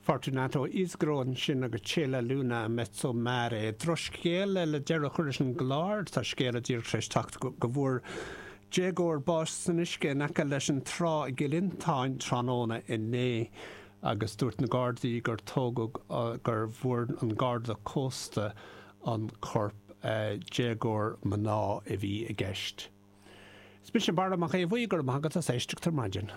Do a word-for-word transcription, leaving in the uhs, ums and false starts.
Fortunato Isgro ansin agus C'è la luna in mezzo mare. Drochscéal le deireadh a chur leis an gclár tá scéal díreach tar éis teacht go bhfuair déagóir bás san uisce in aice leis an trá i gCill Fhionntáin tráthnóna inné agus dúirt na Gardaí gur tógadh gur bhfuair an Garda Cósta an corp déagóir mná a bhí i gceist. Is mise Barra Mac Aodha Bhuí go raibh maith agat as éisteacht ar maidin.